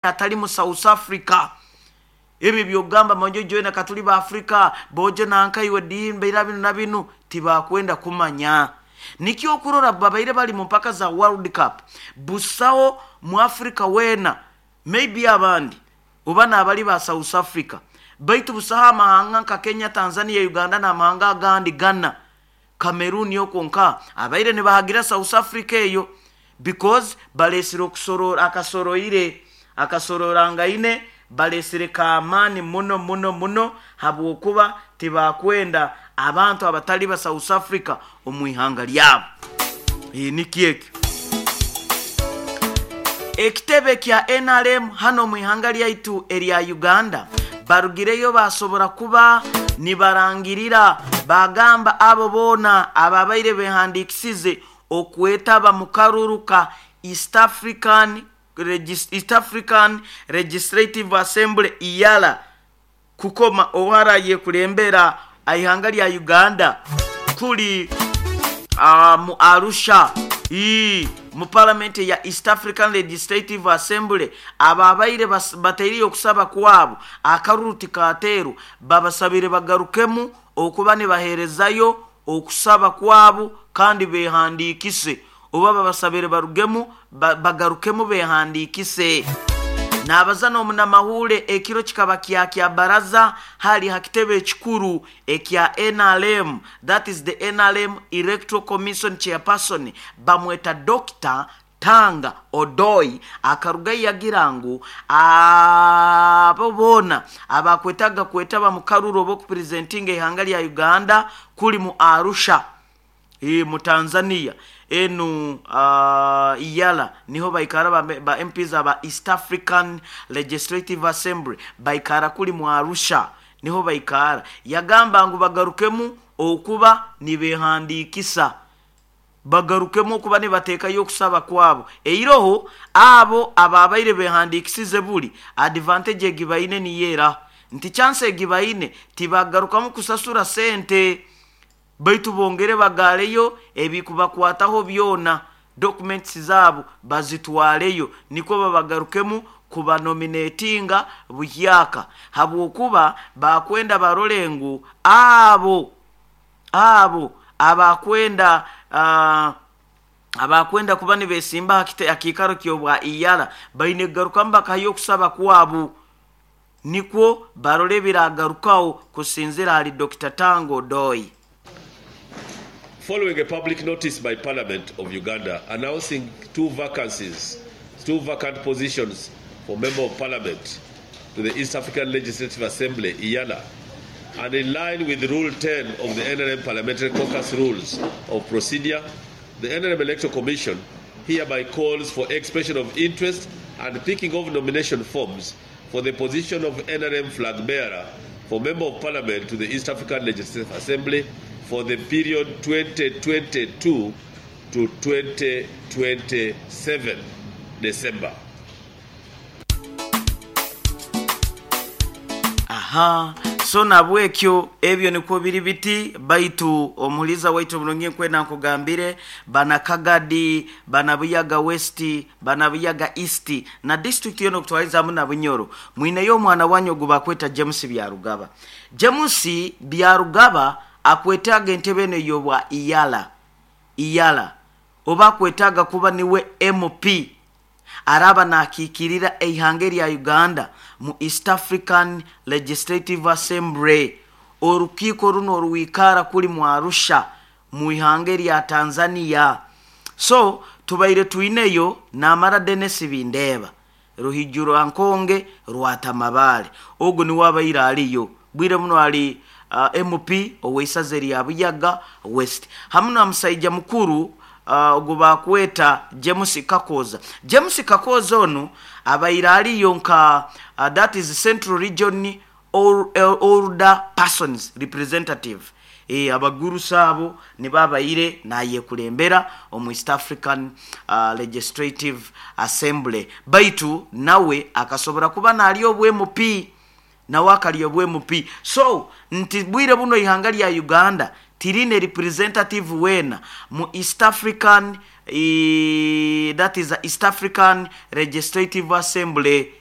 Atali mu South Africa. Ebyo byogamba manjo joina katuli ba Afrika bojo nankaiwe dimbeira binu na binu tibakwenda kumanya. Nikyo okurora babaire bali mu mpaka za World Cup, busaho mu Africa weena, maybe abandi oba nabali ba South Africa, baitu busaho amahanga nka Kenya, Tanzania, Uganda n'amahanga agandi, Ghana, Cameroon, okwo nka abaire nibahagira South Africa eyo, because balesire okusorora akasoroire akasororangaine balesire k'amaani muno muno muno, habwokuba tibakwenda abantu abatali ba South Africa omu ihanga lyabo. Nikyo ekyo. Ekitebe kya nrm hanu omu ihanga lyaitu erya Uganda barugireyo baasobora kuba nibarangirira baagamba abo boona ababaire behandiikisize okwetaba mu karuru ka East African East African Legislative Assembly, EALA, kukoma owarayekulembera eihanga lya Uganda kuli mu Arusha ii mu Palamenti eya East African Legislative Assembly. Ababaire bataireyo okusaba kwabo akaruru tikateerwa, babasabire bagarukemu okuba nibaheerezayo okusaba kwabo kandi behandiikise, oba babasabire barugemu bagarukemu behandiikise. Naabaza n'omunamahuure ekiro kikaba kya kya baraza hali ha kitebe ekikuru ekya nrm, that is the nrm Electoral Commission Chairperson, bamweta Dokita Tanga Odoi, akarugayo yagira ngu abo boona abakwetaaga kwetaba mu karuru oba okupresentinga eihanga lya Uganda kuli mu Arusha mu Tanzania, enu EALA niho baikara ba MPs aba East African Legislative Assembly baikara kuli mu Arusha niho baikara. Yagamba ngu bagarukemu okuba nibehandiikisa, bagarukemu okuba nibateekayo okusaba kwabo. Eiroho abo ababaire behandiikisize buli advantage egi baine niyo eraha nti chance egi baine tibagarukamu kusasura sente, baitu bongere bagaaleyo ebikubakwataho byona, documents zaabo bazitwaleyo nikwo babagarukemu kubanominatinga buhyaka, habwokuba bakwenda barole ngu abo abo abakwenda abakwenda kuba nibesimba aha kiikaro ky'obwa EALA baine kugarukamu bakahayo okusaba kwabo nikwo barole ebiragarukaho kusinzira ahali Dokita Tanga Odoi. Following a public notice by Parliament of Uganda announcing two vacancies, two vacant positions for Member of Parliament to the East African Legislative Assembly, EALA, and in line with Rule 10 of the NRM Parliamentary Caucus Rules of Procedure, the NRM Electoral Commission hereby calls for expression of interest and picking of nomination forms for the position of NRM flag bearer for Member of Parliament to the East African Legislative Assembly for the period 2022 to 2027 December. Aha, so nabwekyo ebyo nikwo biri biti. Baitu omuhuliza waitu omurungi, nkwenda nkugambire bana Kagadi, bana Buyaga West, bana Buyaga East na disiturikiti yoona okutwariza na Bunyoro, mwineyo omwana wanyu ogu bakweta James Byarugaba. James Byarugaba akwetaaga entebe eno ey'obwa EALA, EALA, oba akwetaaga kuba niwe MP araaba naakiikirira eihanga erya Uganda mu East African Legislative Assembly, orukiiko runu orwikara kuli mu Arusha mu ihanga erya Tanzania. So tubaire twineyo Namara Denis Bindeeba, Ruhiju rwa Nkonge Rwatamabale, ogu niwe abaire ariyo bwire buno ali MP ow'eisaza erya Buyaga West, hamu na musaija mukuru ogu bakweta James Kakooza. James Kakooza onu abaire ariyo nka that is Central Region Older Persons Representative, abagurusi abo nibo abaire nayekulembera omu East African Legislative Assembly, baitu nawe akasobora kuba nalya obwa MP, nawe akalya obwa MP. So nti bwire buno eihanga lya Uganda tiriine representative weena mu East African, that is East African Legislative Assembly.